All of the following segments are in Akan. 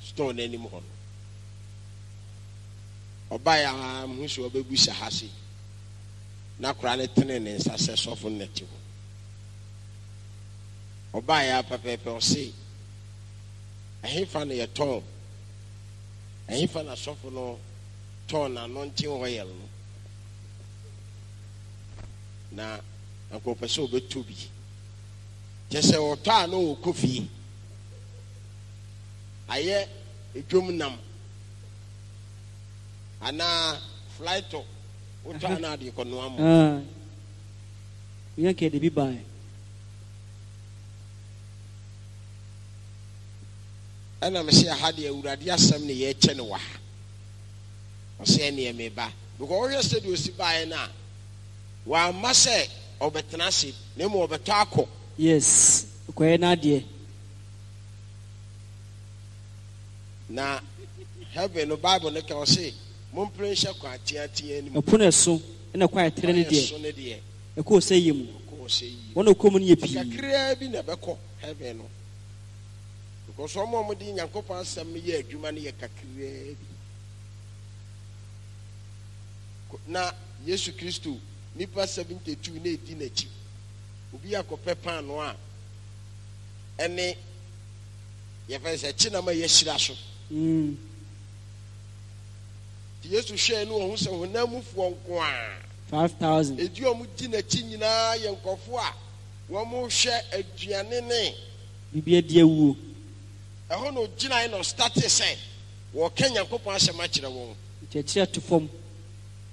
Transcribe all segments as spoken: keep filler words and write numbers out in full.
Store n'anim hɔ no. Ɔbaeɛ a, mehu sɛ ɔbɛbusa ha se na akwaraa no tene ne nsa sɛ sɔfo no na ɛte hɔ. Ɔbaeɛ a pɛpɛɛpɛ, ɔse, "Ɛhefa na yɛtɔn, ɛhefa na sɔfo no tɔn n'anointing oil no?" Na anka ɔpɛ sɛ ɔbɛtɔ bi kyɛ sɛ ɔtɔ a na ɔkɔ fie ayɛ edwom nam anaa flytɔ wotɔ a na ade kɔnoa mo. Ah. Yɛn kɛ de bi bae. Ɛna mesɛ ha deɛ, Awurade asɛm ne yɛkyɛ no wɔ ha. Ɔsɛ ɛneɛ meba because wohwɛ sɛdeɛ ɔsi baeɛ no a, wamma sɛ ɔbɛtena ase na mmom ɔbɛtɔ akɔ. Yes. Kɔyɛ n'adeɛ. Na heaven no, Bible no ka, ɔse mompere nhyɛ kwan teatea anim. Ɛpono ɛso ɛna kwan ɛtrɛ ne kwan deɛ. Ɛso ne deɛ. Ɛkɔɔ sɛ yie mu. Ɔkɔɔ sɛ yie. Wɔn a ɔkɔ mu no yɛ pii. Kakraa bi na ɛbɛkɔ heaven no because wɔn a wɔde Nyankopɔn asɛm no yɛ adwuma no yɛ kakraa bi. Ko- na Yesu Kristo nipa seventy-two na edi n'akyi, obi akɔpɛ paano a ɛne yɛfɛ sɛ kyenam a yɛahyira so. Mm. Nti Yesu hwɛɛ no, ɔho sɛ honam mufoɔ nko a Five thousand. Edi wɔn di n'akyi nyinaa yɛ nkɔfoɔ a wɔn hwɛ aduane ne Biribi adi awuo. Ɛhɔ na ogyinae na ɔstart sɛ wɔka Nyankopɔn asɛm akyerɛ wɔn. Nkyerɛkyerɛ to fam.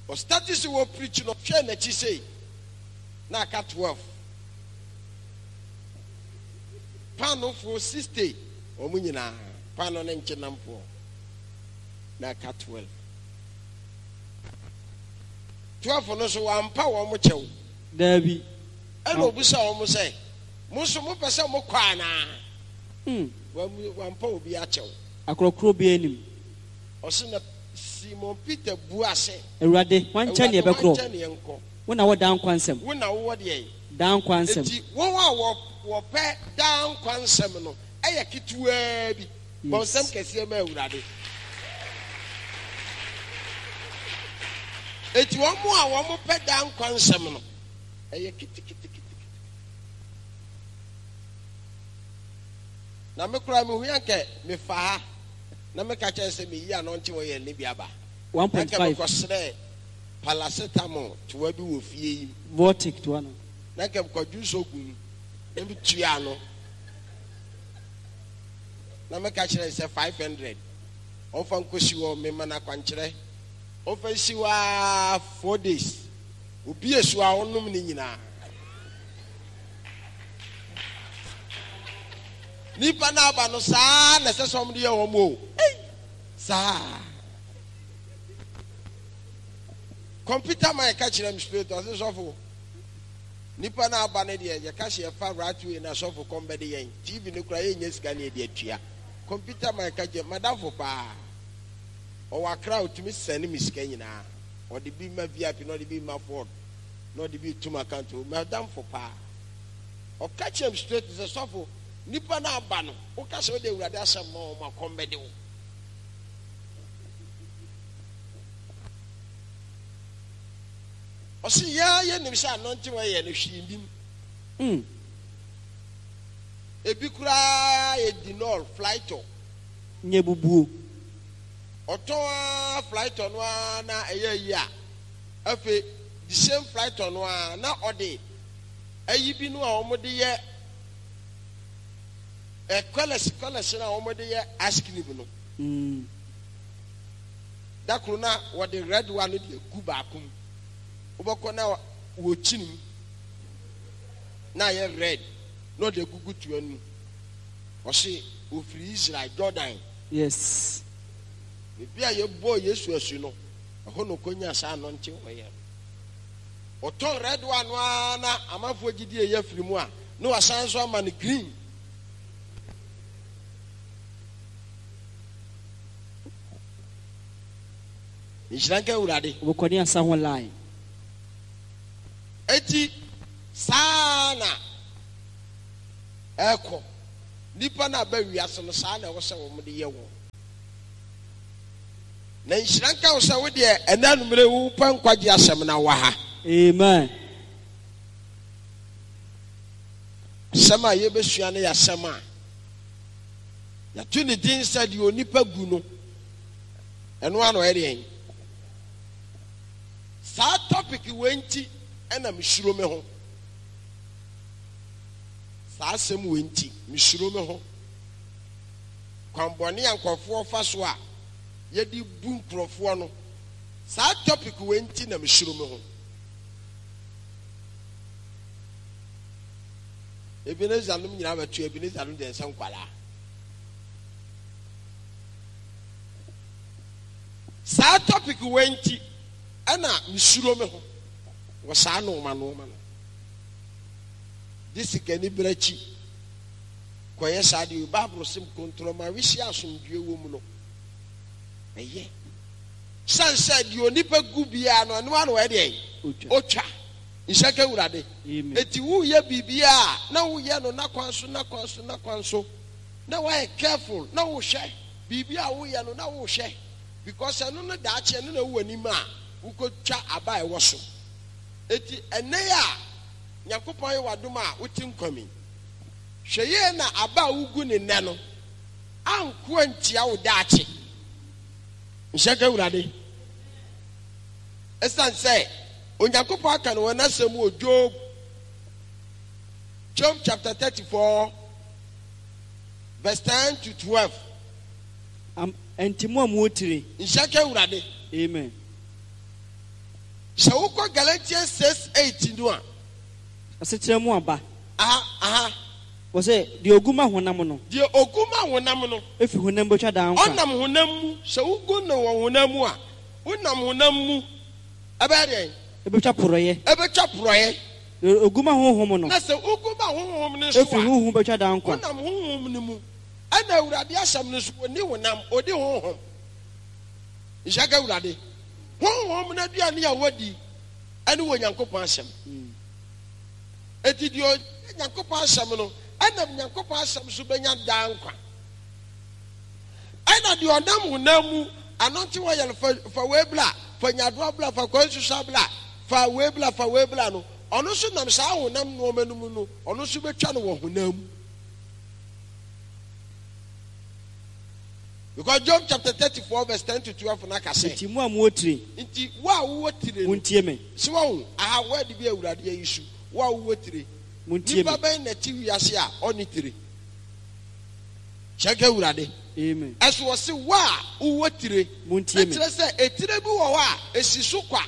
Ɔstart sɛ wɔpreach no, ɔhwɛ n'akyi sei na aka twelve, paanofoɔ sixty, wɔn nyinaa paano ne nkyenamfoɔ, na aka twelve. Twelve no so wampa wɔn kyɛw. Daabi. Ɛna obusa wɔn sɛ, "Mo nso mopɛ sɛ mokɔ anaa?" Mm. Wɔn- wampa obi akyɛw. Akorɔkorɔ bi anim. Ɔse na Simon Peter bua sɛ, "Awurade, hwan nkyɛn ne "Awurade, yɛbɛkorɔ?" Hwan nkyɛn ne yɛnkɔ? Wo na wɔ daa nkwa nsɛm. Wo na wowɔ deɛ Daa nkwa nsɛm. Eti wɔn a wɔ wɔpɛ daa nkwa nsɛm no ɛyɛ ketewaa bi. Bɔ nsɛm kɛseɛ ma Awurade. Eti wɔn a wɔn pɛ daa nkwa nsɛm no ɛyɛ keteketekete. Na me koraa mehu ya nkɛ mefa ha na meka kyerɛ sɛ meyi anointing oil ne bi aba. One point Na nkɛ five. Mekɔsrɛ paracetamol toa bi wɔ fie yi mu. Vortic toa no. Na nkɛ mekɔdwo nso gu mu na metua ano na meka kyerɛ sɛ five hundred ɔmfa nkɔsi hɔ, mema no akwankyerɛ, ɔmfa nsi hɔ aa four days, obi esu a ɔnom ne nyinaa. Nipa no aba no saa na ɛsɛ sɛ ɔmo de yɛ wɔn o. Ei, saa computer man ka kyerɛ me straight, ɔse, "Sɔfo, nipa no aba no deɛ, yɛka sɛ yɛfa right way na sɔfo kɔm bɛde yɛn. T V no kora yɛnyɛ sika ne yɛde atua." Computer man ka kyerɛ madamfo paa, ɔwɔ Akra a ɔtumi sɛne me sika nyinaa, ɔde bi ma V I P na ɔde bi ma Ford na ɔde bi tum account o. Madamfo paa ɔka kyerɛ me straight sɛ, "Sɔfo, nipa no aba no, woka sɛ wode Awurade asɛm ma wɔn akɔm bɛde wo." Ɔse yɛa yɛnim sɛ anointing oil no hwee nim. Mm. Ebi koraa yɛ De-Nol flytɔ. Nyɛ bubuo. Ɔtɔn a flytɔ no ara na ɛyɛ yi a, afei the same flytɔ no ara na ɔde ayi bi no a wɔde yɛ ɛ colours colours no a wɔde yɛ ice cream no. Mm. Da koro na wɔde red one no de agu baako mu, wobɛkɔ na wɔkyi no mu na ayɛ red na ɔde agugu toa no mu. Ɔse ofiri Israel, Jordan. Yes. Baabi a yɛbɔɔ Yesu asu no, ɛhɔ na ɔkɔnya saa anointing oil no. Ɔtɔn red one no ara na amanfoɔ gyidi ɛyɛ afiri mu a, na wasan nso ama no green. Nhyira nka Awurade. Wobɛkɔ ne asa ho line. Eti saa na ɛkɔ nipa na aba wiase no, saa na ɛwɔ sɛ wɔn de yɛ wɔn. Na nhyira nka wo sɛ wo deɛ ɛnɛ anumere wopɛ nkwagye asɛm na wɔ ha. Amen. Asɛm a yɛbɛsua no yɛ asɛm a yɛato ne din sɛ deɛ onipa gu no ɛno ano ɛyɛ deɛn. Saa topic wei nti ɛna mesuro me ho. Saa asɛm wei nti mesuro me ho. Kwanbɔne a nkurɔfoɔ fa so a yɛde bu nkurɔfoɔ no, saa topic wei nti na mesuro me ho. Ebenezer nom nyinaa bɛto Ebenezer nom deɛ nsɛ nkwalaa. Saa topic wei nti ɛna mesuro me ho wɔ saa nnoɔma nnoɔma no. De sikani berɛ akyi kɔyɛ saa deɛ Bible sem kontroma wisi asomdue wɔ mu no ɛyɛ. San sɛ deɛ onipa gu biara no ɛno ano ɛdeɛ otwa. Nhyɛ ka Awurade. Eti woyɛ biribiara na woyɛ no na kwan so na kwan so na kwan so na woayɛ careful na wohwɛ biribi a woyɛ no na wohwɛ because ɛno no daakye ɛno na ɛwɔ anim a wokɔtwa aba a ɛwɔ so. Eti ɛnɛ yi a Nyankopɔn ayɛ w'adom a wote nkwa mi, hwɛ yie na aba a wogu ne nnɛ no anko antia wo daakye. Nhyɛ ka Awurade. Ɛsiane sɛ Onyankopɔn aka no wɔ n'asɛm wɔ Job, Job chapter thirty-four verse ten to twelve. Am, enti mo a mowɔ tire. Nhyɛ ka Awurade. Amen. Sɛ wokɔ Galatians six eight no a. Asekyerɛ mu aba. Aha, aha. Wɔsɛ deɛ ogu ma honam no. Deɛ ogu ma honam no. Efi honam bɛtwa daa nkwa. Ɔnam honam mu. Sɛ wogu no wɔ honam mu a, wonam honam mu. Ɛbɛyɛ deɛn? Ɛbɛtwa porɔeɛ. Ɛbɛtwa porɔeɛ. Deɛ ogu ma honhom no. Na sɛ wogu ma honhom no nso a. Efi honhom bɛtwa daa nkwa. Wonam honhom no mu. Ɛna Awurade asɛm no nso, ɔnni honam, ɔdi honhom. Nhyɛ ka Awurade. Honhom no aduane a wɔdi ɛne wɔ Nyankopɔn asɛm. Eti deɛ ɔdi Nyankopɔn asɛm no, ɛnam Nyankopɔn asɛm so bɛnya daa nkwa. Ɛna deɛ ɔnam honam mu, anɔnte wɔ yɛn fa, fa wei bla, fa nyadoa bla, fa kwan susa bla, fa wei bla, fa wei bla no, ɔno nso nam saa honam nneɛma no mu no, ɔno nso bɛtwa no wɔ honam mu. Because Job chapter thirty-four verse ten to twelve na ka sɛ. Nti mo a mowɔ tire. Nti wo a wowɔ tire no. Montie me. Sɛ wahu, aha word bi Awurade ayi so, wo a wowɔ tire. Montie me. Nipa bɛn na ti wiase a ɔnni tire? Kyɛ ka Awurade. Amen. Ɛso ɔse wo a wowɔ tire. Montie me. Ɛkyerɛ sɛ etire bi wɔ hɔ a esi so kwa.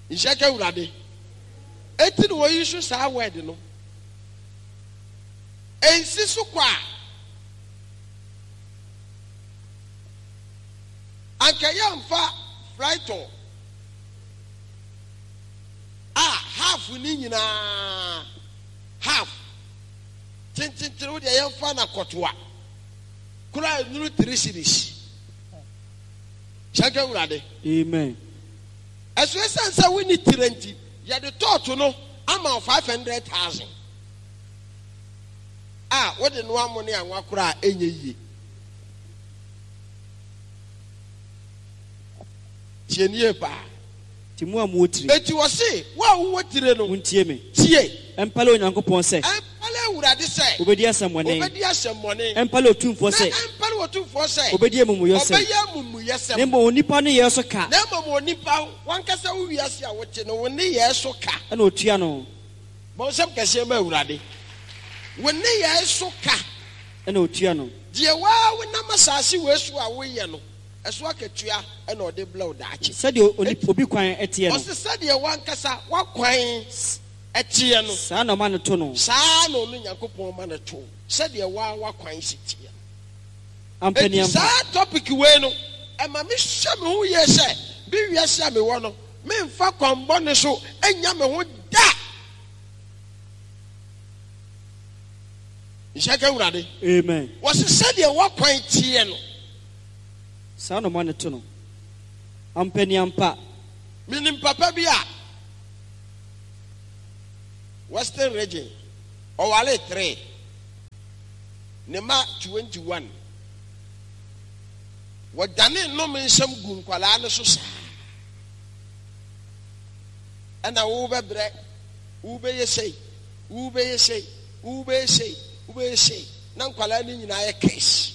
Nhyɛ ka Awurade. Eti na wɔyi so saa word no. Ensi so kwa. Anka yɛmfa frytol a half ni nyinaa half tententen wo deɛ yɛmfa na kɔtoa kura nuru three series. Hyɛ ka Awurade. Amen. Ɛso ɛsiane sɛ wonni tire nti yɛde tɔɔto no ama five hundred thousand. A wode no amo ne anwa koraa ɛnyɛ yie. Tie nie paa. Ti mu a mowɔ tire. Eti wɔse wo a wowɔ tire no. Montie me. Tie. Ɛmpale Onyankopɔn sɛ. Ɛmpale Awurade sɛ. Obedi asɛmmɔne. Obedi asɛmmɔne. Ɛmpale Otumfoɔ sɛ. Na ɛmpale Otumfoɔ sɛ. Obedi amumuyɔsɛm. Ɔbɛyɛ amumuyɔsɛm. Na mmom onipa ne yɛ so ka. Na mmom onipa wankasa wo wiase a wote no wo ne yɛ so ka. Ɛna otua no. Bɔnsɛm kɛseɛ ma Awurade. Wo ne yɛ so ka. Ɛna otua no. Deɛ waa wonam asase wei so a woyɛ no, ɛso akatua ɛna ɔde blɛ wo daakye. Sɛdeɛ obi kwan ɛteɛ no. Ɔse sɛdeɛ wankasa wakwan ɛteɛ no. Saa na ɔma no to no. Saa na ɔno Nyankopɔn ma no to. Sɛdeɛ waa wakwan si teɛ no. Ampa ni Enti ampa. saa topic wei no, ɛma me hyɛ me ho yie sɛ, bi wiase a mewɔ no, memfa kwan bɔne so nya me ho da. Nhyɛ ka Awurade. Amen. Wɔse sɛdeɛ wakwan teɛ no. Saa na ɔma no to no. Ampa ni ampa. Menim papa bi a Western region ɔware three. Ne mma twenty one. Wɔdane nnome nsɛm gu nkwadaa no so saa. Ɛna wobɛbrɛ, wobɛyɛ sei, wobɛyɛ sei, wobɛyɛ sei, wobɛyɛ sei. Na nkwadaa no nyinaa yɛ curse.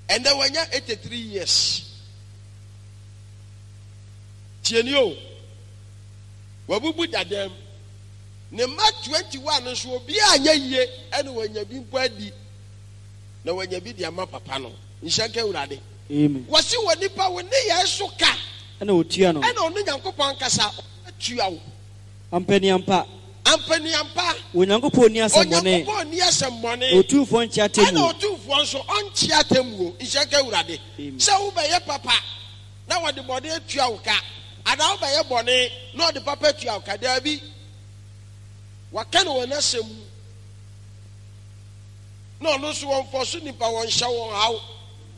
Ɛnɛ wanya eighty three years. Tie ni o. Wabubu dadam. Ne mma twenty one no nso obiara anyɛ yie ɛna wanya bi mpo adi. Na wanya bi de ama papa no. Nhyɛ nka Awurade. Amen. Wɔsi wɔ nipa wo ne yɛn so ka. Ɛna otua no. Ɛna ɔno Nyankopɔn ankasa ɔtua wo. Ampaniampa. Ampaniampa. Onyankopɔn ni asɛmmɔne. Onyankopɔn ni asɛmmɔne. Otumfoɔ nkyea atemmuo. Ɛna otumfoɔ nso ɔnkyea atemmuo. Nhyɛ nka Awurade. Amen. Sɛ wobɛyɛ papa na wɔde bɔne atua wo ka, anaa wobɛyɛ bɔne na ɔde papa atua wo ka, daabi. Waka no wɔ n'asɛm mu. Na ɔno nso wɔmfɔ so nipa wɔnhyɛ wɔn haw.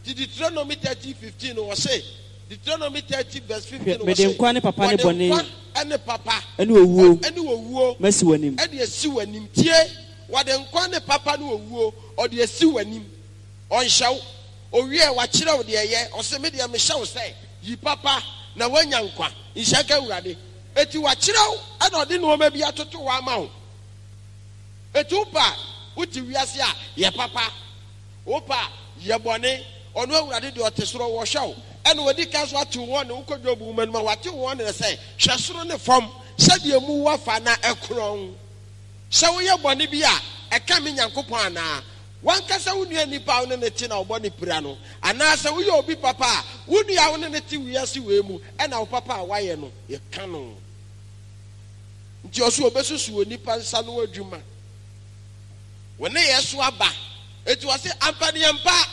Ti Deuteronomy thirty fifteen wɔ se, Deuteronomy thirty verse fifteen Hwɛ, wɔ mede se, nkwa ne papa ne wɔde bɔne nkwa ne papa ɛne owuo ɛne owuo masi w'anim. ɛde asi w'anim. Tie, wɔde nkwa ne papa ne owuo ɔde asi w'anim. Ɔnhyɛ wo. Owie wakyerɛ wo deɛ ɛyɛ. Ɔse me deɛ mehyɛ wo sɛ yi papa na woanya nkwa. Nhyɛ nka Awurade. Eti wakyerɛ wo ɛna ɔde nneɛma bi atoto hɔ ama wo. Eti wopa wote wiase a yɛ papa. Wopa yɛ bɔne. Ɔno Awurade deɛ ɔte soro wɔhwɛ wo. Ɛna wɔdi ka so ate wɔn ne wokɔ Job nwoma no mu a wate wɔn ne sɛ hwɛ soro ne fam sɛdeɛ mu wafa na ɛkorɔn. Sɛ woyɛ bɔne bi a ɛka me Nyankopɔn anaa? Wankasa wo nua nipa a wo ne ne te na wobɔ ne pira no, anaasɛ woyɛ obi papa a wo nua a wo ne ne te wiase wei mu ɛna wo papa a wayɛ no yɛka no. Nti ɔso obesusu onipa nsa no adwuma. Wo ne yɛ so aba. Eti ɔse ampaniampa.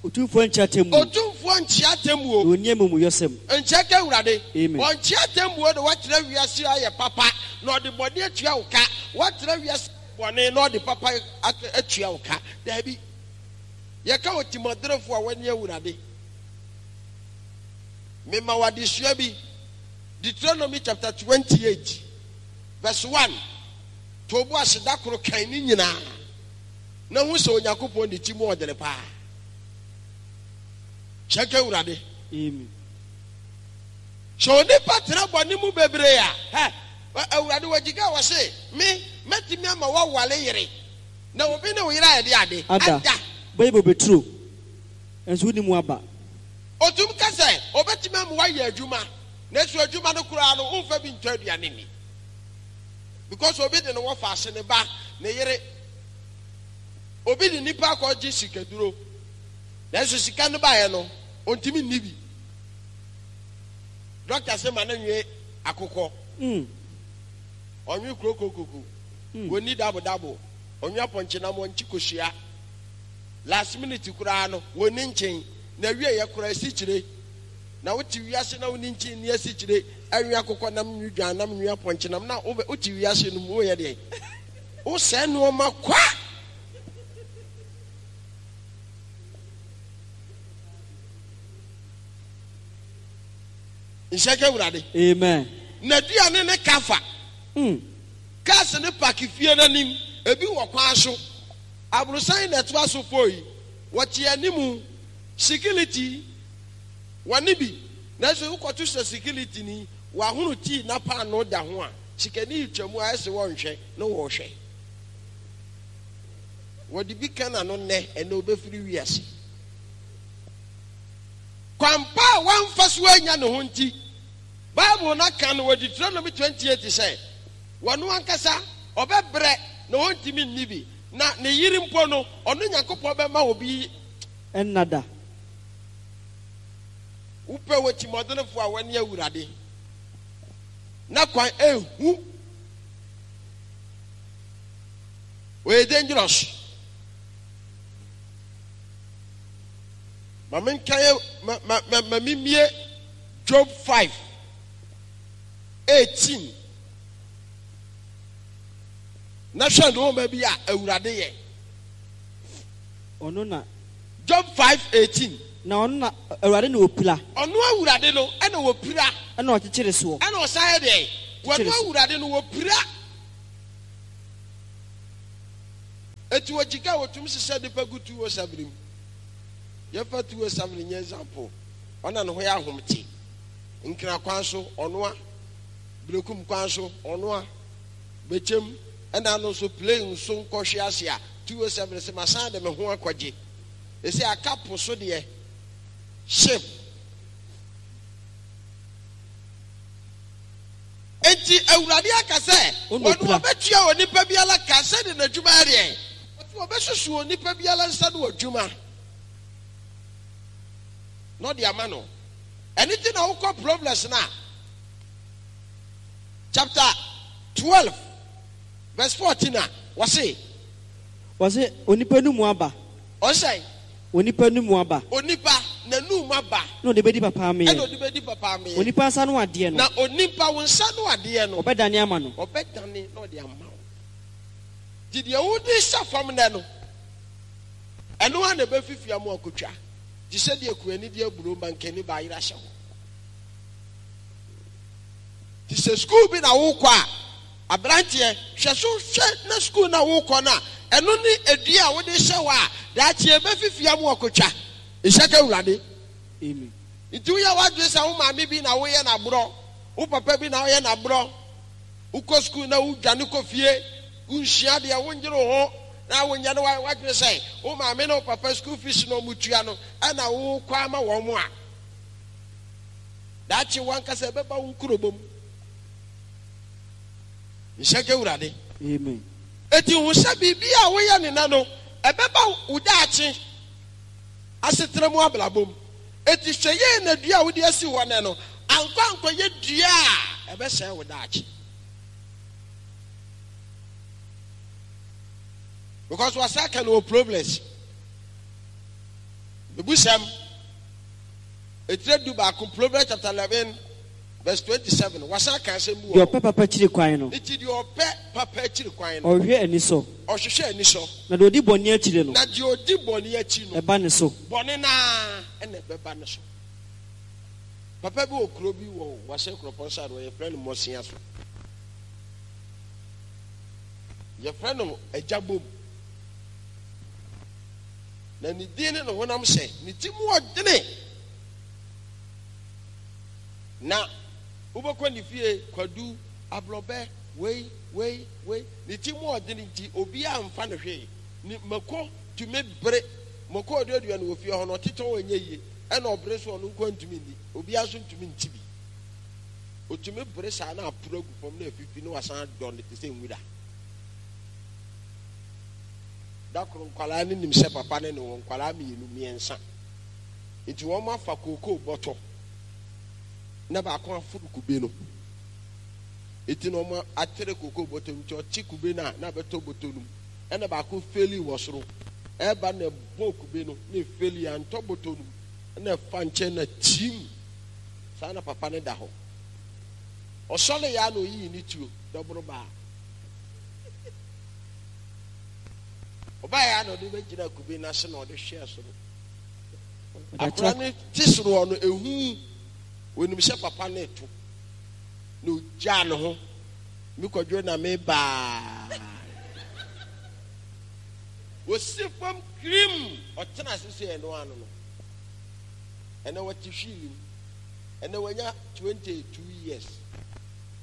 Otumfoɔ nkyea atemmuo. Otumfoɔ nkyea atemmuo. Na onni amumuyɔsɛm. Nkyea ka Awurade. Amen. Ɔnkyea atemmuo na wakyerɛ wiase ayɛ papa na ɔde bɔne atua wo ka. Wakyerɛ wiase bɔne na ɔde papa atua wo ka. Daabi. Yɛka otimɔdenfoɔ a wɔne Awurade. Mema wo adesua bi. Deuteronomy chapter twenty-eight verse one. To bo ase da koro kan ne nyinaa. Na hu sɛ Onyankopɔn de ti mu ɔdene paa. Kyɛ ka Awurade. Amen. Sɛ onipa tena bɔne mu bebree a, hɛ, Awurade wagyika wɔ se, me, mɛtumi ama woawale yere. Na obi ne wo yere ayɛ de ade. Ada. Ada. Bɛyɛ bobeturo. Nso wonni mu aba. Otum ka sɛ, obɛtumi ama woayɛ adwuma. Nanso adwuma no koraa no, womfa bi ntɔ aduane nni. Because obi de ne wɔfa ase ne ba, ne yere. Obi de nipa akɔgye sikaduro. Nanso sika no baeɛ no, ontumi nni bi. Doctor sɛ ma no nwe akokɔ. Mm. Ɔnwe kurokokoko. Mm. Wɔnni dabodabo. Ɔnwe apɔnkyenam, ɔnkye kosua. Last minute koraa no, wɔnni nkyen. Na wie yɛ koraa asikyire. Na wote wiase na wonni nkyen nni asikyire. Ɛnwe akokɔ nam, nwe dwan nam, nwe apɔnkyenam. Na wote wiase no mu, woyɛ deɛ. Wosɛe nneɛma kwa. Nhyɛ ka Awurade. Amen. Na aduane ne kafa. Mm. Cars ne park fie n'anim. Ebi wɔ kwan so. Aborosan na ɛtoa so fo yi. Wɔte anim. Security wɔne bi. Nanso wokɔto sɛ security ni wɔahono tii na paano da ho a sikani retwa mu a ɛsɛ wɔnhwɛ na wɔrehwɛ. Wɔde bi ka n'ano nnɛ ɛnɛ obɛfiri wiase. Kwampa a wamfa so anya ne ho nti, Bible no aka no wɔ Deuteronomy twenty-eight sɛ wɔno ankasa ɔbɛbrɛ na ɔntumi nni bi na ne yere mpo no ɔno Nyankopɔn bɛma obi Ɛnna da. Wopɛ wɔ timɔdenfoɔ a wɔne Awurade na kwan ehu. Ɔyɛ dangerous. Ma menka yɛ ma ma ma ma mimie Job five eighteen. Na hwɛ nneɛma bi a Awurade yɛ. Ɔno na Job five eighteen. Na ɔno na Awurade na opira. Ɔno Awurade no ɛna wɔpira. Ɛna ɔkyekyere soɔ. Ɛna ɔsan yɛ deɛ. Wɔno Kyekyere so. Awurade no wɔpira. Eti wɔgyika a wɔtumi sisa nipa gu two oh seven mu. Yɛfa two oh seven nyɛ example. Ɔna ne ho yɛ ahomte. Nkira kwan so ɔnoa. Berekum kwan so ɔnoa. Bɛkyɛm ɛna ano nso plane nso nkɔhwe ase a two oh seven sɛ masan de me ho akɔgye. Esi aka po so deɛ ship. Enti Awurade aka sɛ wɔn wɔbɛtua onipa biara ka sɛde n'adwuma yɛ deɛ. Wɔte wɔbɛsusu onipa biara nsa no adwuma na ɔde ama no. Ɛno ti na wokɔ Proverbs na chapter twelve verse fourteen a wɔse. Wɔse onipa no mu aba. Ɔsɛn. Onipa no mu aba. Onipa n'anum aba. Na ɔde bɛdi papa ameɛ. Ɛna ɔde bɛdi papa ameɛ. Onipa nsa no adeɛ no. Na onipa wo nsa no adeɛ no. Ɔbɛdane ama no. Ɔbɛdane na ɔde ama wo. Nti deɛ wode hyɛ fam nɛ no, ɛno ara na ɛbɛfifi ama akotwa. Te sɛ deɛ kuani de aburo mankani baayera hyɛ hɔ. Te sɛ sukuu bi na wokɔ a, aberanteɛ, hwɛ so hwɛ na sukuu na wokɔ no a, ɛno ne edua a wode hyɛ hɔ a, daakye ɛbɛfifi ama akotwa. Nhyɛ ka Awurade. Amen. Nti woyɛ w'adwene sɛ wo maame bi na woyɛ n'aborɔ, wo papa bi na woyɛ n'aborɔ, wokɔ sukuu na wodwane kɔ fie, wonsua deɛ wonyere wo ho na wonyɛ no w'adwene sɛ wo maame ne wo papa school fees na ɔmo tua no ɛna wokɔ ama wɔn mo a, daakye wankasa ɛbɛba wo nkurobɔ mu. Nhyɛ ka Awurade. Amen. Eti hu sɛ biribi a woyɛ ne na no ɛbɛba wo daakye asetena mu abrabɔ mu. Eti hwɛ yie na dua a wode asi hɔ nɛ no ankɔ ankɔyɛ dua a ɛbɛsɛe wo daakye. Because wasa ka no wɔ problems. Ebusɛm etire du baako, Proverbs chapter eleven verse twenty-seven. Wasa ka asɛm bi wɔ Deɛ ɔpɛ papa kyiri kwan no. Nti deɛ ɔpɛ papa akyiri kwan no. Ɔhwehwɛ anisɔ. Ɔhwehwɛ anisɔ. Na deɛ ɔdi bɔne akyiri no. Na deɛ ɔdi bɔne akyi no. Ɛba ne so. Bɔne naa ɛna ɛbɛba ne so. Papa bi wɔ kuro bi wɔ Wase Kuropɔn side wɔ yɛfrɛ no Mɔsia so. Yɛfrɛ no Agya Bom. Na ne din ne ne honam sɛ ne ti mu ɔdene. Na wobɛkɔ ne fie kwadu aborɔbɛ wei wei wei ne ti mu ɔdene nti obiara mfa ne hwee. Ne mako tumi bere mako ɔduadua no wɔ fie hɔ no ɔtetɔn ɔnyɛ yie ɛna ɔbere so ɔno nko ntumi nni obiara nso ntumi nti bi. Otumi bere saa na aporo agu fam na afifi na wasan adɔ no te sɛ nwura. Da koro nkwalaa no nim sɛ papa ne ne wɔ nkwalaa mmienu mmiɛnsa. Nti wɔn afa kookoo bɔtɔ na baako aforo kube no. Eti na wɔn atere kookoo bɔtɔ nti ɔte kube no a na abɛtɔ bɔtɔ no mu. Ɛna baako feli wɔ soro. Ɛba na ɛbɔ kube no na efeli antɔ bɔtɔ no mu. Ɛna ɛfa nkyɛn na kyim. Saa na papa no da hɔ. Ɔsɔre ya na oyiyi ne tuo dɔboro baa. Ɔbaa ya na ɔde bɛgyina kube no ase na ɔde hwɛɛ soro. Akora no te soro hɔ no ehu onim sɛ papa no eto na ogyaa ne ho me kɔdwo na me baa. Osi fam kirim ɔtena ase sɛ ɛno ano no. Ɛnɛ wɔte hwii mu. Ɛnɛ wɔanya twenty two years.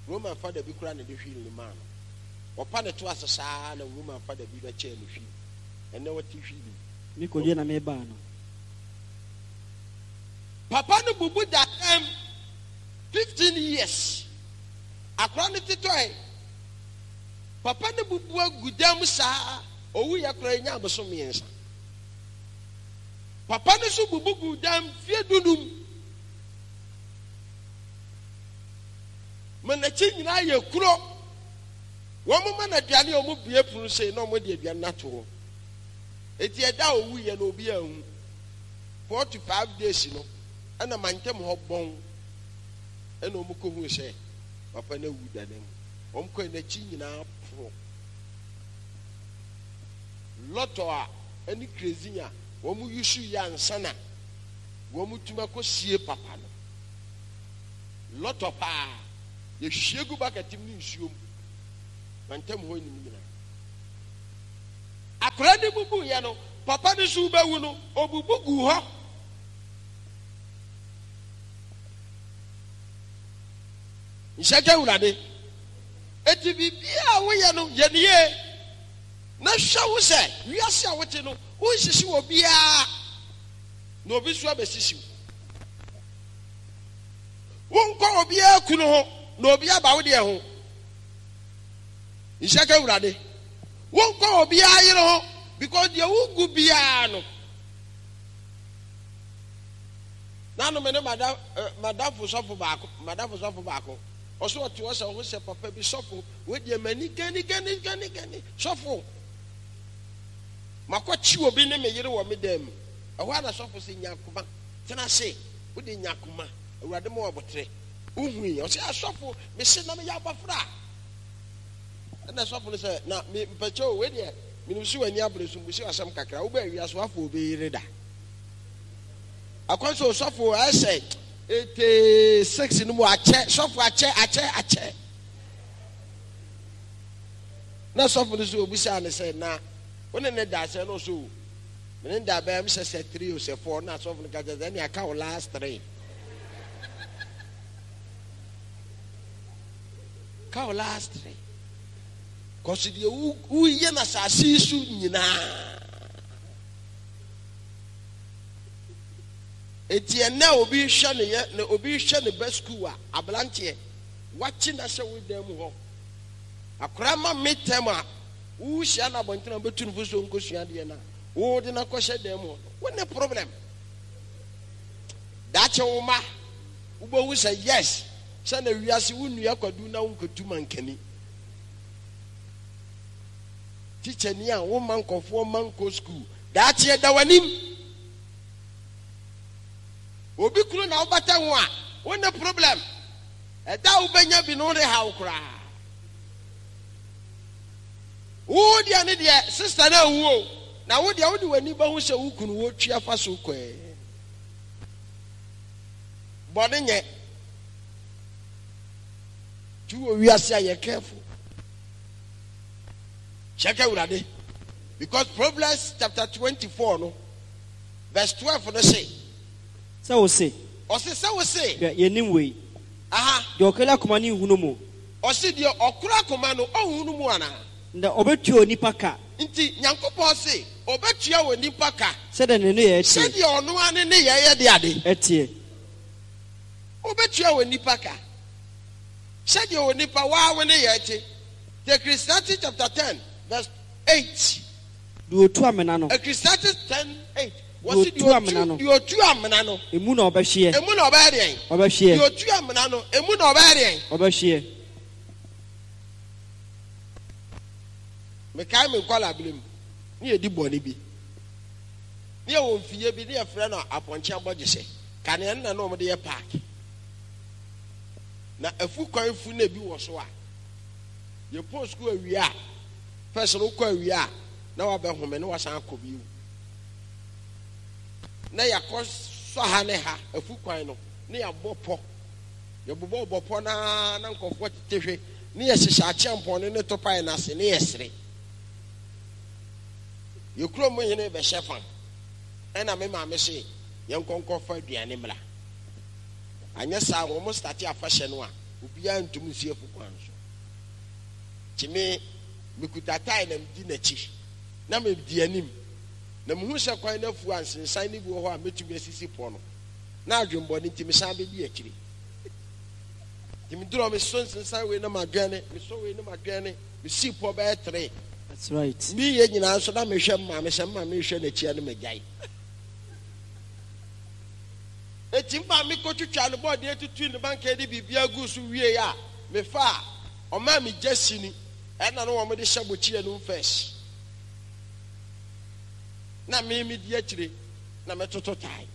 Roman fada bi kura na de hwii ne maa no. Ɔpa ne to ase saa na Roman fada bi bɛkyɛɛ no hwii. Ɛnɛ wɔte hwii mu. Me kɔdwo na me baa no. Papa no bubu da dɛm fifteen years. Akora no tetɔe. Papa no bubu agu dɛm saa owu yɛ kora enya abosom mmiɛnsa. Papa no nso bubu gu dɛm fie dunum. Ma n'akyi nyinaa yɛ kuro. Wɔn ma no aduane a wɔn bue pono sei na wɔn de aduane no ato hɔ. Eti ɛda a owu yɛ no obi anhu. Four to five days no ɛna mantam hɔ bɔn ɛna wɔn kɔ hu sɛ papa no awu da ne mu. Wɔn kɔ n'akyi nyinaa poro. Lɔtɔ a ɛne kerosene a wɔn yusu yɛ ansa na wɔn tuma kɔ sie papa no. Lɔtɔ paa yɛhwie gu bucket mu ne nsuo mu. Mantam hɔ nim nyinaa. Akora ne bubu yɛ no, papa ne so bɛwu no, obubu gu hɔ. Nhyɛ Awurade. Eti biribiara a woyɛ no yɛ ne yie. Na hwɛ wo sɛ wiase a wote no, wonsisi wɔ biara na obi nso abɛsisi wo. Wonkɔ obiara kunu ho na obi aba wo deɛ ho. Nhyɛ Awurade. Wonkɔ obiara yere ho because deɛ wogu biara no. Nanu me ne madam madamfo sɔfo baako madamfo sɔfo baako ɔso ɔte hɔ sɛ ɔho sɛ papa bi sɔfo wɔdeɛ m'ani gani gani gani gani sɔfo makɔkye obi ne me yere wɔ me dan mu. Ɛhɔ a na sɔfo sɛ nya akoma tena ase, wode nya akoma, Awurade ma wabɔtere. Wohui ɔsɛ asɔfo mese na meyɛ abɔfra. Ɛna sɔfo no sɛ na me mpɛkyɛ o, wei deɛ menim sɛ w'ani abere so mbusi asɛm kakra, wobɛ awia so afɔ obi yere da. Akwan sɛ osɔfo ɛsɛ eighty six no mu akyɛ, sɔfo akyɛ akyɛ akyɛ. Na sɔfo no so obusaa ne sɛ na wo ne ne da sɛ no so me ne da bɛyɛ sɛ sɛ three o sɛ four. Na sɔfo no ka kyerɛ sɛ ɛne aka wo last three, ka wo last three kɔso deɛ woyɛ no asase yi so nyinaa. Eti ɛnɛ obi hwɛ ne yɛ na obi hwɛ ne ba sukuu a aberanteɛ wakye na hyɛ wo dan mu hɔ akora ma me tɛm a wohyia no abɔntene a wobɛtu no fo so nkɔsua adeɛ no a wode no akɔhyɛ dan mu hɔ no, wo ne problem. Daakye wo ma wobɛhu sɛ yes, sɛ na wiase wo nnua kwadu na wonkɔtu mankani. Tikyani a woma nkɔfoɔ ma nkɔ sukuu, daakye ɛda w'anim. Obi kunu na wobata ho a, wo ne problem. Ɛda a wobɛnya bi no wode haw koraa. Wo deɛ ne deɛ sister no anwu o, na wo deɛ wode w'ani bɛhu sɛ wo kunu wɔtwi afa so kɔɛ. Bɔne nyɛ. Tu wɔ wiase a yɛ careful. Check Awurade. Because Proverbs chapter twenty-four no verse twelve no say. Sɛ wo se. Ɔse sɛ wo se. Hwɛ yɛnim wei. Aha. Deɛ ɔkura akoma no nhunu mu. Ɔse deɛ ɔkura akoma no ɔnhunu mu anaa? Na ɔbɛtua onipa ka. Nti Nyankopɔn se ɔbɛtua onipa ka. Sɛdeɛ ne nneyɛɛ teɛ. Sɛdeɛ ɔno ara ne nneyɛɛ yɛ de ade. Ɛteɛ. Ɔbɛtua onipa ka. Sɛdeɛ onipa waa wo nneyɛɛ te. The Ecclesiastes chapter ten verse eight. Deɛ ɔtu amena no. Ecclesiastes ten eight. Deɛ ɔtu amena no. Deɛ ɔtu amena no. Emu na ɔbɛhyeɛ. Emu na ɔbɛyɛ deɛn? Ɔbɛhyeɛ. Deɛ ɔtu amena no, emu na ɔbɛyɛ deɛn? Ɔbɛhyeɛ. Mekae me nkɔla abere mu, ne yɛdi bɔne bi. Ne yɛwɔ mfiyɛ bi, ne yɛfrɛ no apɔnkye abɔgyesɛ. Kanea no na na wɔde yɛ park. Na afu kwan fu na ebi wɔ so a, yɛpɔn sukuu awia a, first no wokɔ awia a, na wabɛhome na wasan akɔ bio. Na yɛakɔ sɔ ha ne ha afu kwan no, ne yɛabɔ pɔ. Yɛbobɔ bɔ pɔ naa na nkɔfoɔ tete hwe, ne yɛhyehyɛ akyeampɔn no ne topae no ase, ne yɛsere. Yɛ kurom hene bɛhyɛ fa, ɛna me maame se yɛnkɔ nkɔfa aduane mmra. Anyɛ saa wɔn starte afahyɛ no a, obiara ntum nsi afu kwan so. Nti me mekuta tae na medi n'akyi, na medi anim. Na mehu sɛ kwan no afu a nsensan no bi wɔ hɔ a mɛtumi asisi pɔ no. Na adwembɔne nti mesan bɛdi akyire. Nti meduru hɔ, mesɔ nsensan wei na madwɛne, mesɔ wei na madwɛne, mesii pɔ bɛyɛ three. That's right. Meyɛ nyinaa nso na mehwɛ maame sɛ maame hwɛ n'akyi a na magyae. Eti maame kɔtwitwa ne bɔɔdeɛ tutu ne banka de biribi agu so wie a, mefa a, ɔmaa me gya sini, ɛna no wɔn de hyɛ bɔkyi anum first. Na me me di akyire na mɛtoto tae.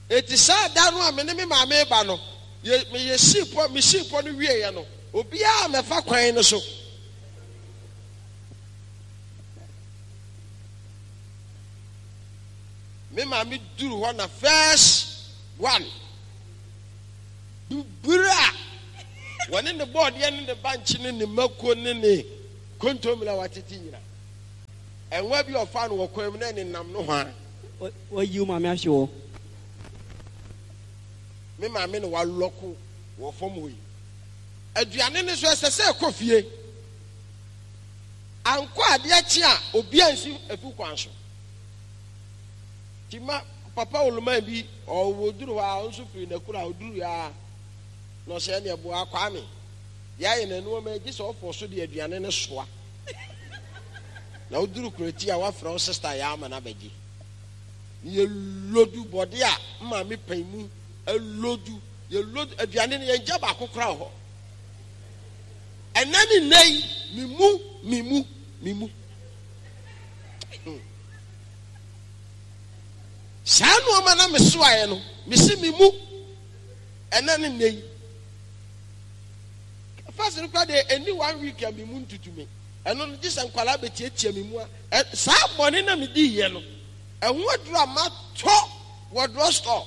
Eti saa da no a me ne me maame ba no, yɛ, me yɛ sii pɔ, me sii pɔ no wieɛ no, obiara mɛfa kwan no so. Me maame duru hɔ na first one buburu a wɔne ne bɔɔdeɛ ne ne bankye ne ne mako ne ne kontomire a watete nyina. Ɛnwa bi ɔfa no wɔ kwan mu na ne nam no hɔ a. Wayi wo maame ahwe wɔ. Me maame na walɔko wɔ fam hɔ yi. Aduane no so ɛsɛ sɛ ɛkɔ fie. Ankɔ adeɛ kye a obi ansi efu kwan so. Ti ma papa oluman bi ɔwɔ duru hɔ a ɔnso firi n'akura ɔduru a na ɔsɛ ɛne ɛboa Kwame. Deɛ ayɛ n'anuoma gye sɛ ɔfɔ so de aduane no soa. Na woduru kuroti a wafrɛ wo sister yɛ ama no abɛgye. Yɛ lodu bɔde a maame pan mu lodu yɛ lodu aduane no yɛn gya baako kora wɔ hɔ. Ɛnɛ ne nnɛ yi me mu me mu me mu. Saa nneɛma na me soaeɛ no me si me mu ɛnɛ ne nnɛ yi. First no kora deɛ ɛni one week a me mu ntutu me. Ɛno no gye sɛ nkwalaa bɛtiatia me mu a saa bɔne na medi yɛ no ɛho aduru a matɔ wɔ drugstore.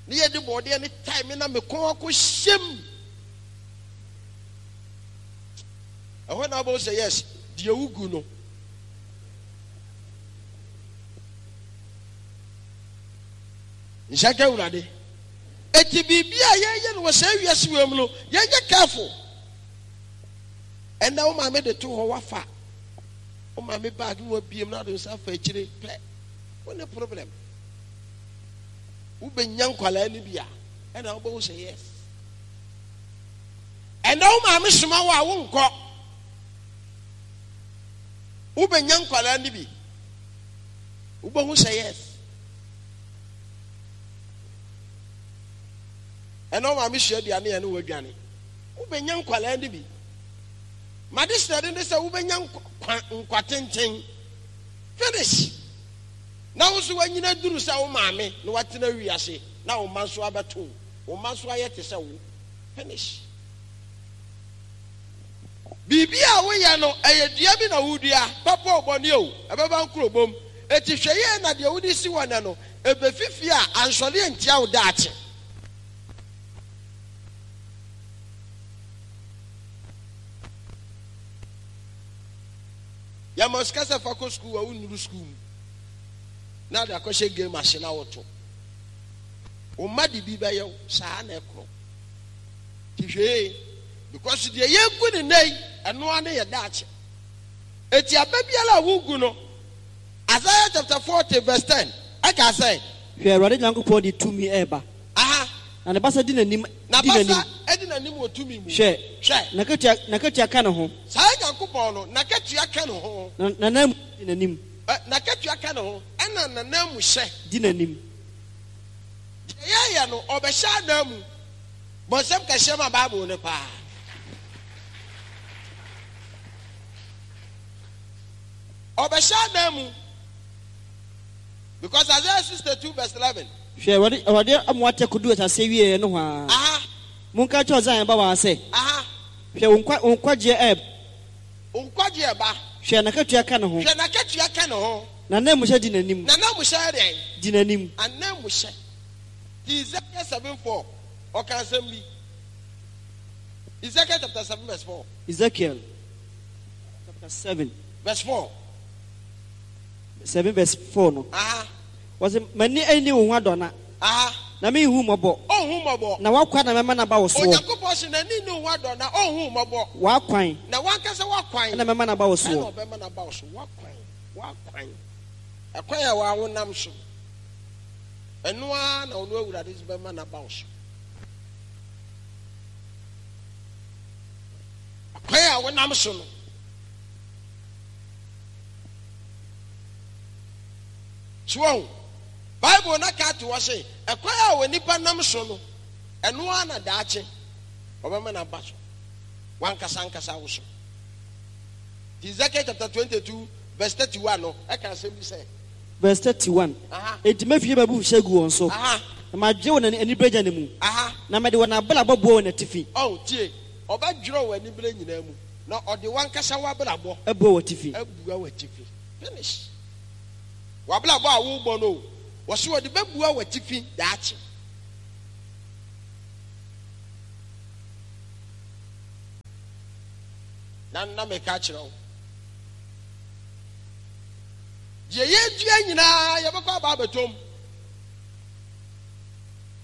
Ne yɛde bɔɔdeɛ ne tae me na me kɔn akɔ hyɛm. Ɛhɔ na wobɛhu sɛ yes deɛ wogu no. Nhyɛ ka Awurade. Eti biribi a yɛyɛ no wɔ saa wiase wɔ mu no yɛnyɛ careful. Ɛnna wo maame de to hɔ wafa. Wo maame bag no wabiem na ade nsa afa akyire pɛ. Wo ne problem. Wobɛnya nkwalaa no bi a ɛna wobɛhu sɛ yes. Ɛnna wo maame soma wo a wonkɔ. Wobɛnya nkwalaa no bi. Wobɛhu sɛ yes. Ɛnna wo maame sua aduane yɛ ne wadwane. Wobɛnya nkwalaa no bi. Made srɛde ne sɛ wobɛnya nkwa nkwa tenten. Finish. Na wo nso wanyina duru sɛ wo maame na watena wiase na wo mma nso abɛto wo mma nso ayɛ te sɛ wo. Finish. Biribi a woyɛ no ɛyɛ dua bi na wodua papa ɔbɔne o ɛbɛba nkurobom. Eti hwɛ yie na deɛ wode si hɔ nɛ no ebefifi a ansɔre ntia wo daakye. Yɛma sika sɛ fa kɔ sukuu a wonnuru sukuu mu. Na de akɔhyɛ game ase na woto. Wo mma de bi bɛyɛ wo saa na ɛkorɔ. Ti hwee because deɛ yɛgu ne nɛ yi ɛno ara ne yɛ daakye. Eti aba biara a wogu no Isaiah chapter forty verse ten ɛka sɛ. Hwɛ Awurade Nyankopɔn de tumi ɛreba. Aha. Na ne basa di n'anim. Na basa di n'anim wɔ tumi mu. Hwɛ. Hwɛ. N'akatua n'akatua ka ne ho. Saa Nyankopɔn no n'akatua ka ne ho. Na n'anan di n'anim. Ɛ n'akatua ka ne ho ɛna n'anan mu hyɛ. Di n'anim. Deɛ yɛyɛ no ɔbɛhyɛ anan mu. Bɔnsɛm kɛseɛ ma Bible no paa. Ɔbɛhyɛ anan mu. Because Isaiah sixty-two verse eleven. Hwɛ Awurade Awurade amoa tɛ kodu asase wie no hɔ a. Aha. Monka kyerɛ Zion ba waa sɛ. Aha. Hwɛ wo nkwa wo nkwagyeɛ ɛɛba. Wo nkwagyeɛ ba. Hwɛ n'akatua ka ne ho. Hwɛ n'akatua ka ne ho. Na n'anan mu hyɛ di n'anim. Na n'anan mu hyɛ dɛn? Di n'anim. Anan mu hyɛ. Ti Ezekiel seven four ɔka asɛm bi. Ezekiel chapter seven verse four. Ezekiel chapter seven verse four. Seven verse four no. Aha. Wɔsi m'ani ani wo ho adɔna. Aha. Na mi hu mɔbɔ. Ɔnhu mɔbɔ. Na wakwan na mɛma n'aba wo soɔ. Onyankopɔn si n'ani ni wo ho adɔna ɔnhu mɔbɔ. Wakwan. Na wankasa wakwan. Ɛna mɛma n'aba wo soɔ. Ɛna ɔbɛma n'aba wo so wakwan wakwan. Ɛkwan a wawo nam so. Ɛno ara na ɔno Awurade bɛma n'aba wo so. Ɛkwan a wonam so no. So Bible na ka to wɔ se ɛkwan a wɔ nipa nam so no ɛno ara na daakye ɔbɛma n'aba so wankasa nkasa wo so. Ezekiel chapter twenty-two verse thirty-one no ɛka asɛm bi sɛ. Verse thirty-one. Aha. Enti mɛfie m'abufuhyeɛ gu wɔn so. Aha. Na magye wɔn anibere gya ne mu. Aha. Na mɛde wɔn abrabɔ bɔ wɔn atifi. Ɔn tie ɔbɛdwerɛ wɔn anibere nyinaa mu na ɔde wankasa w'abrabɔ. Ɛbɔ wɔn atifi. Ɛbua wɔn atifi. Finish. W'abrabɔ a wobɔ no wɔsi wɔde bɛbua wɔn atifi daakye. Na na meka kyerɛ wo. Deɛ yɛdua nyinaa yɛbɛkɔ aba abɛtɔm.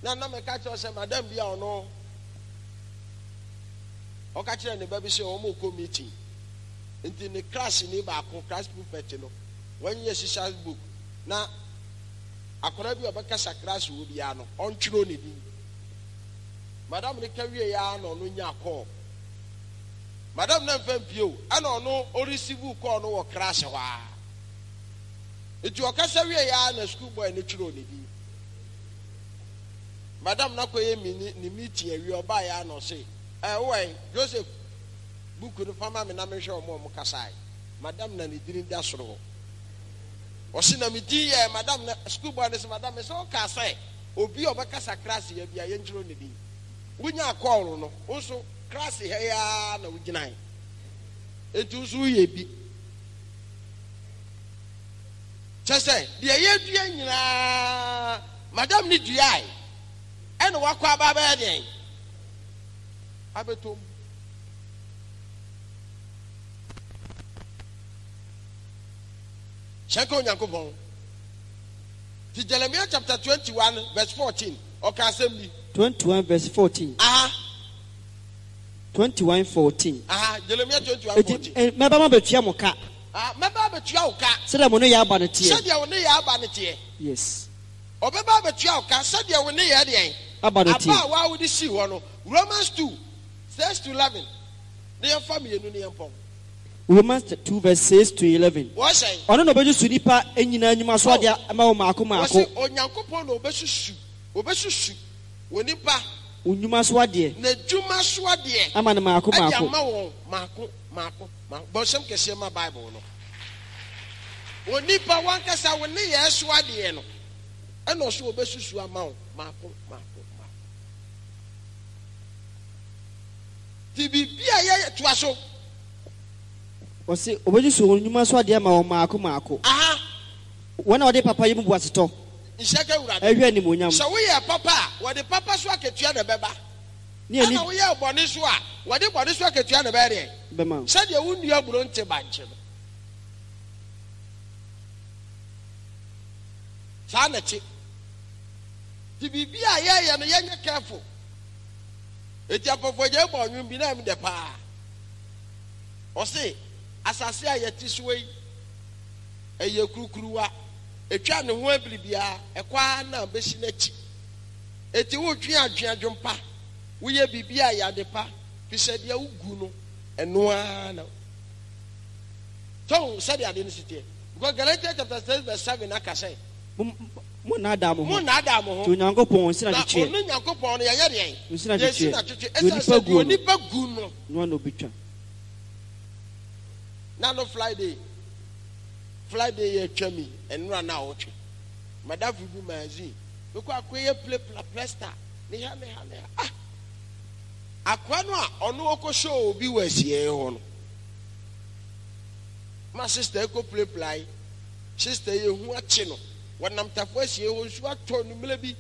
Na na meka kyerɛ sɛ madam bi a ɔno ɔka kyerɛ ne ba bi sɛ wɔn kɔ meeting. Nti ne class ni baako, class prefect no, wɔnyɛ sisa book na akwadaa bi a ɔbɛkasa class wɔ biara no ɔntwerɛ ne din. Madam ne ka wie ya na ɔno nya call. Madam na mfa mpie o, ɛna ɔno ɔreceive call no wɔ class hɔ a. Nti ɔkasa wie ya na school boy no twerɛ ne din. Madam na kɔyɛ mi ne meeting awie, ɔbaa ya na ɔse, ɛ wowɛ Joseph, book no fama me na mehwɛ ɔmo a ɔmo kasae. Madam na ne din da soro hɔ. Ɔse na me din yɛ madam na school boy no sɛ madam sɛ ɔka sɛ obi a ɔbɛkasa class yɛ bi a yɛntwerɛ ne din. Wonya call no, wo nso class ha yi ara na wogyinae. Enti nso woyɛ bi. Kyɛ sɛ deɛ yɛdua nyinaa madam ne duae ɛna wakɔ aba abɛyɛ deɛn abɛtɔm. Hyɛnka Onyankopɔn. Ti Jeremiah chapter twenty-one verse fourteen ɔka asɛm bi. twenty-one verse fourteen. Aha. twenty-one fourteen. Aha, Jeremiah twenty-one fourteen. Eti mɛba ma bɛtua mo ka. Ah, mɛba abɛtua wo ka. Sɛdeɛ mo ne yɛ aba no teɛ. Sɛdeɛ wo ne yɛ aba no teɛ. Yes. Ɔbɛba abɛtua wo ka sɛdeɛ wo ne yɛ deɛn. Aba no teɛ. Aba a waa wode sii hɔ no. Romans two six to eleven. Ne yɛmfa mmienu ne yɛmpɔn. Romans two verse six to eleven. Wɔsɛn. Ɔno na ɔbɛsusu nipa nyinaa nnwuma so adeɛ ama wɔn maako maako. Wɔsi Onyankopɔn na ɔbɛsusu, ɔbɛsusu wɔ nipa. Nnwuma so adeɛ. Na dwuma so adeɛ. Ama no maako Ɛde maako. ama wɔn maako maako maako. Bɔnsɛm kɛseɛ ma Bible no. Onipa wankasa wo ne yɛ so adeɛ no, ɛna ɔso ɔbɛsusu ama wo maako maako maako. Ti biribi a yɛ toa so. Wɔsi ɔbɛsusu wɔn nnwuma so adeɛ ama wɔn maako maako. Aha. Wɔn a wɔde papa yi mu bu asetɔ. Nhyɛ ka Awurade. Ɛhwɛ animuonyam. Sɛ woyɛ papa a, wɔde papa so akatua na ɛbɛba. Ne ani. Ɛna woyɛ bɔne so a, wɔde bɔne so akatua na ɛbɛyɛ deɛ. Bɛma. Sɛdeɛ wo nua buro nte bankye no. Saa na ɛte. Ti biribi a yɛyɛ no yɛnyɛ careful. Eti apɔfɔgya bɔ ɔnwom bi na ɛm dɛ paa. Ɔse asase a yɛte so yi ɛyɛ kurukuruwa. Etwa ne ho abiri biara ɛkɔ ara na bɛsi n'akyi. Eti wotwe adwe adwompa, woyɛ biribi a yɛ ade pa, fi sɛ deɛ wogu no ɛno ara na tɔn sɛdeɛ ade no si teɛ. Because Galatians chapter six verse seven aka sɛ, Mo nnaadaa mo ho. Mo nnaadaa mo ho. Nti Onyankopɔn nsi Na n'atwetweɛ. ɔno Nyankopɔn no yɛnyɛ deɛn? Nsi Yɛnsi n'atwetweɛ. n'atwetwe. Deɛ Ɛsiane onipa sɛ deɛ guo no. onipa gu no. No ara na obɛtwa. Na no Friday. Friday yɛ atwa mi nnora na awɔtwe. Madamfo bi magazine. Mekɔ akɔyɛ plapla plasta. Ne ha ne ha ne ha. Ah! Akoa no a ɔno ɔkɔ show obi wɔ asieɛ hɔ no. Ma sister kɔ plapla yi. Sister yi ehu akye no. Wɔnam tafo asie hɔ nsuo atɔ numere bi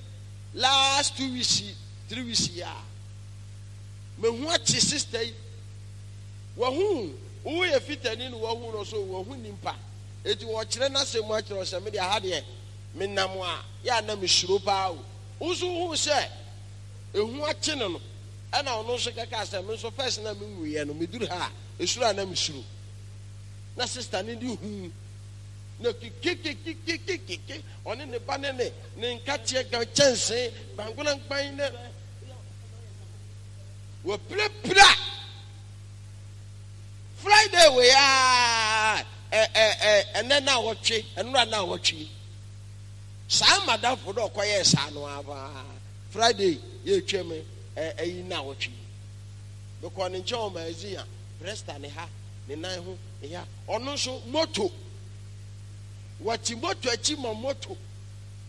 last two weeks three weeks yi a. Mehu akye sister yi. Wahu woyɛ fitani no wahu no so wahu nimpa. Eti wɔkyerɛ n'asɛm mu akyerɛ sɛ me de aha deɛ menam a yɛ a na mesuro paa o. Wo nso wohu sɛ ehu akye no no ɛna ɔno nso kɛka sɛ me nso first na menwuiɛ no meduru ha a esuro a na mesuro. Na sister ne de hu na kekekekekekeke ɔne ne ba ne ne ne nkateɛ gan kyɛnsee gbangonankpan ne wɔpirapira. Friday wei a ɛ ɛ ɛ ɛnɛ na wɔtwe ɛnora na wɔtwe saa madamfo dɛ ɔkɔyɛɛ saa no aba Friday yɛtwa mu ɛ ɛyi na wɔtwe mekɔ ne nkyɛn wɔ magazine a presta ne ha ne nan ho ne ha ɔno nso moto wɔte moto akyi ma moto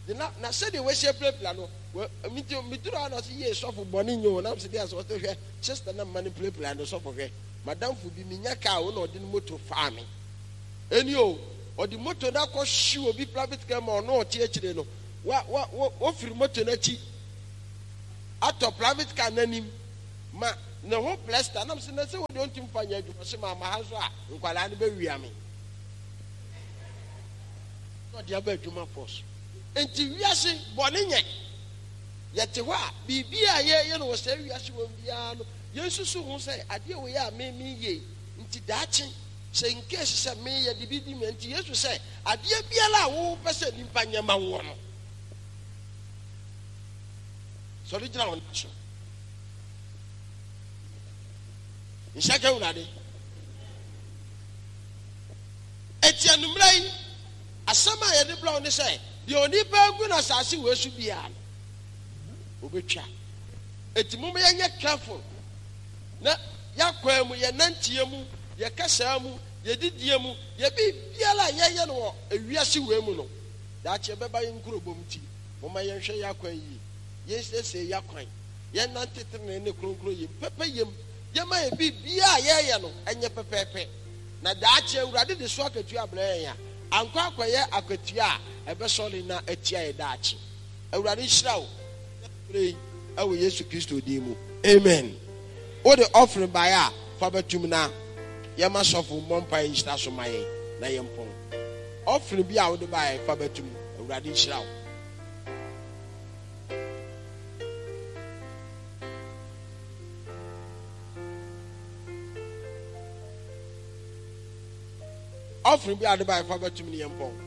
de na na sɛdeɛ wɔahyia pirapira no wɔ miti mituru ha na ɔsɛ yie sɔfo bɔne nye o nam sɛ deɛ asɛ ɔsɛ hwɛ sister na mma ne pirapira no sɔfo hwɛ madamfo bi minya kaa wo na ɔde ne moto faa me ɛni o ɔde moto no akɔ hye obi private car ma ɔno ɔte akyire no wa wa wa wɔfiri moto n'akyi atɔ private car n'anim ma ne ho plasta nam sɛ na sɛ wode ɔntumi fa nyɛ adwuma sɛ maama ha nso a nkwadaa no bɛwia me na ɔde aba adwuma so. Nti wiase bɔne nyɛ yɛte hɔ a biribi a yɛyɛ no wɔ saa wiase wɔ biara no, yɛnsusu ho sɛ adeɛ wɔ yɛ a me meyɛ nti daakye sɛ nkesi sɛ meyɛ de bi di me. Nti Yesu sɛ adeɛ biara a wopɛ sɛ nipa nyɛ ma woɔ no, sɔre gyina wo nan so nhyɛ ka Awurade. Eti anummerɛ yi, asɛm a yɛde brɛ wo ne sɛ deɛ onipa agu no asase wɔ so biara no, obɛtwa. Eti moma yɛnyɛ careful na yɛakwan mu, yɛnanteɛ mu, yɛkasaa mu, yɛdidie mu, yɛbiribiara a yɛyɛ no wɔ ewiase wei mu no, daakye ɛbɛba yɛn nkurobom. Nti moma yɛnhwɛ yɛ akwan yie, yɛnsiesie yɛ akwan, yɛnante tenene ne kronkron yam pɛpɛ yam, yɛma yɛ biribiara a yɛyɛ no ɛnyɛ pɛpɛɛpɛ, na daakye Awurade de so akatua brɛ yɛn a ankɔ akɔyɛ akatua a ɛbɛsɔre na atia yɛ daakye. Awurade nhyira wo berɛ yi ɛwɔ Yesu Kristo din mu, amen. Wode offering baeɛ a, fa bɛtum na yɛma sɔfo mmɔ mpaeɛ nhyira so ma yɛn na yɛmpɔn. Offering bi a wode baeɛ, fa bɛtum. Awurade nhyira wo. Offering bi a wode baeɛ, fa bɛtum ne yɛmpɔn.